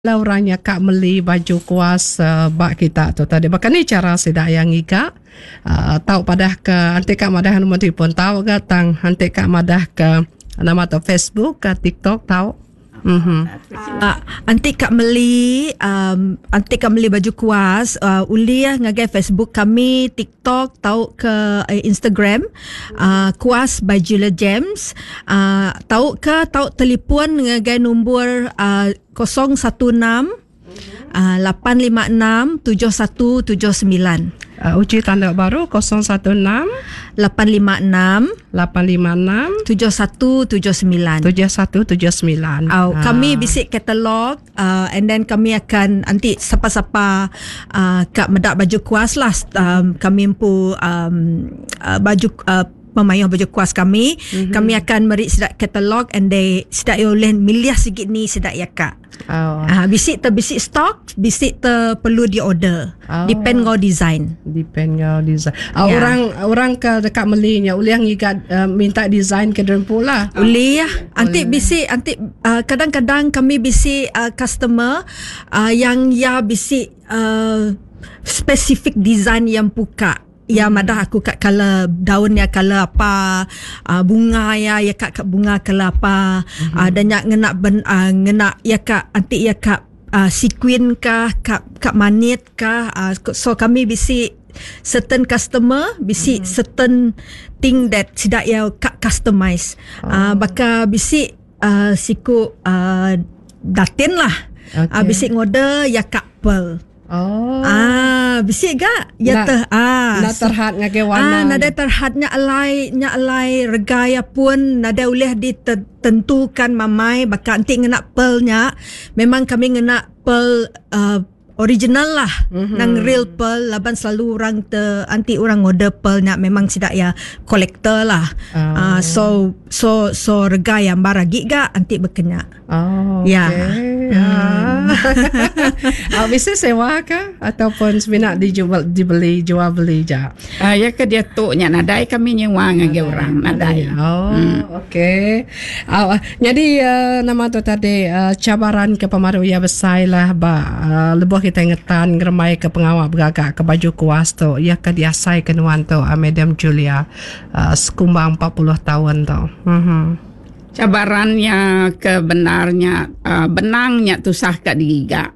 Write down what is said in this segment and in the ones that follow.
Bala orang nya ka meli baju kuas ba kita tu tadi. Baka ni chara sida iya ngiga uhh tau padah ke enti ka madah nombor telefon tau ga tang enti ka madah ke nama tu Facebook ka TikTok tau. Uhh. Enti ka meli uhh enti ka meli baju kuas uhh ulih ngagai Facebook kami TikTok tauka Instagram uhh kuas by Julia James uhh tauka tau telefon ngagai nombor uhh 016 856 7179. Uji tanda baru 016 856 856 7179. 7179. Au, kami bisi katalog uh, and then kami akan anti sapa-sapa uh, ka meda baju kuas lah um, kami empu um, uh, baju uh, pemayuh baju kuas kami mm-hmm. kami akan meri sida katalog and they sida ia ulih milih sigi ni sida ia ka. Oh. Ah bisi te bisi stok, bisi te perlu di order. Oh. Depend ngau design. Depend ngau design. Oh, Ya. Orang orang ke deka meli nya ulih ngiga uh, minta design ke diri empu lah. Ulih anti bisi anti uh, kadang-kadang kami bisi uh, customer uh, yang ya bisi uh, specific design yang puka. Iya madah aku ka color daun iya color apa uhh bunga iya iya ka ka bunga color apa uhh da nya ngena ben uhh ngena iya ka enti iya ka uhh sequin ka ka ka manit ka uhh so kami bisi certain customer bisi certain thing that sida iya ka customize uhh baka bisi uhh siku uhh datin lah uhh bisi ngorder iya ka pearl. Oh. Ah, bisi ga ya teh ah. Enda terhad ngagai warna. Ah, nadai terhad nya alai nya alai rega iya pun nadai ulih ditentukan mamai baka enti ngena pearl nya memang kami ngena pearl uh, original lah mm-hmm. nang real pearl laban selalu orang te anti orang order pearl nya memang sida ya collector lah. Oh. Uh, so so so rega iya ambar agi ga enti bekenya. Oh, Ya. okey. Hmm. Ah, bisi sewa ka ataupun semina dijual dibeli jual beli ja. Ah, ya ke diatu nya nadai kami nyewa ngagai orang nadai. Oh, hmm. okey. Ah, jadi uh, nama tu tadi uh, cabaran ke pemaru ia besai lah ba uh, lebuh kita ngetan ngeremai ke pengawa begaga ke baju kuas tu ia ke diasai ke nuan tu uh, Madam Julia uh, sekumbang 40 tahun tu. Mhm. Cabaran iya ke bendar nya benang nya tusah ka digiga.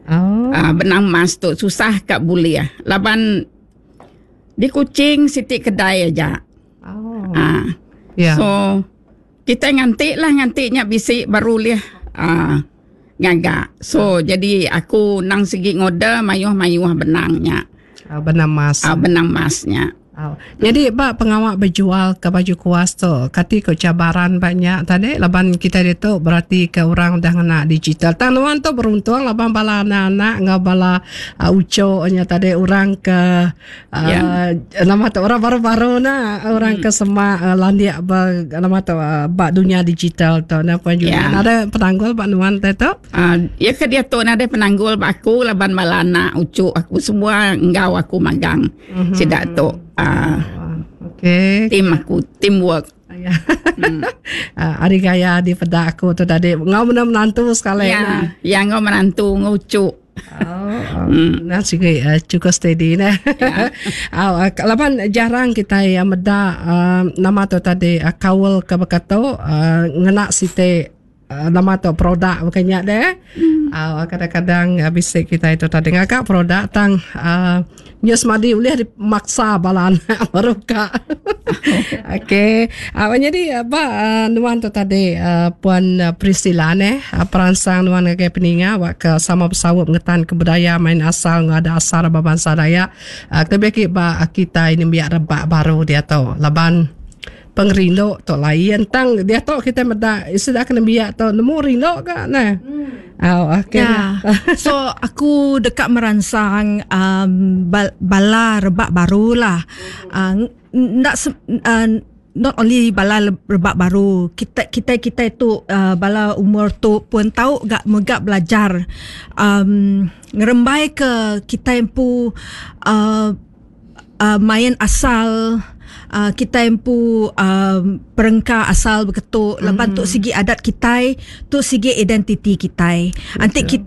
Oh. Benang emas tu susah ka bulih laban di Kuching siti kedai aja. Oh. Yeah. So kitai nganti lah nganti nya bisi baru ulih ngaga. So jadi aku nang sigi ngorder mayuh-mayuh benang nya. Benang emas. Benang emas nya. Au. Nyadi ba pengawa bejual ke baju kuas tu, kati ku cabaran ba nya tadi laban kitai ditu berati ke orang udah ngena digital. Tang nuan tu beruntung laban bala anak-anak enggau bala uhh uchu nya tadi orang ke uhh nama tu orang baru-baru ne orang ke semak landik ba nama tu ba dunya digital tu. Nah puan Julian ada penanggul ba nuan tai tu? Iya ke diatu nadai penanggul ba aku laban bala anak uchu aku semua enggau aku magang. Mm-hmm. Sida tu uh, okay. Team aku, teamwork. Ya. Uh, hari gaya di peda aku tu tadi ngau mena menantu sekali. Ya, ya ngau menantu ngucuk. Oh, mm. Nah, sigi uh, cukup steady nah. Ya. Uh, laban jarang kita yang meda uh, nama tu tadi uh, kaul ke bekatu uh, ngena siti Nama tu produk bukan nya deh. Uh, kadang-kadang uh, bisi kita itu tadi ngaga produk tang uh, nya semadi ulih dimaksa bala anak baru ka. Okey. Uh, jadi ba uh, nuan tu tadi uh, puan Priscilla neh uh, peransang nuan ngagai peninga wak ke sama besaup ngetan ke budaya main asal enggau adat asal ba bansa Dayak. Uh, kelebih agi ba kita ini biak rebak baru diatu laban Pengerindu tu lain tang diatu kitai meda sida ke nembiak tu nemu rindu ka neh. Au okey. Ya. So aku deka meransang um bala rebak baru lah. Um enda um not only bala rebak baru kita kitai kitai tu uh bala umur tu pun tau ga mega belajar um ngerembai ke kitai empu um main asal. uh, kita empu um, perengka asal beketu laban tu sigi adat kita, tu sigi identiti kita. Anti kita.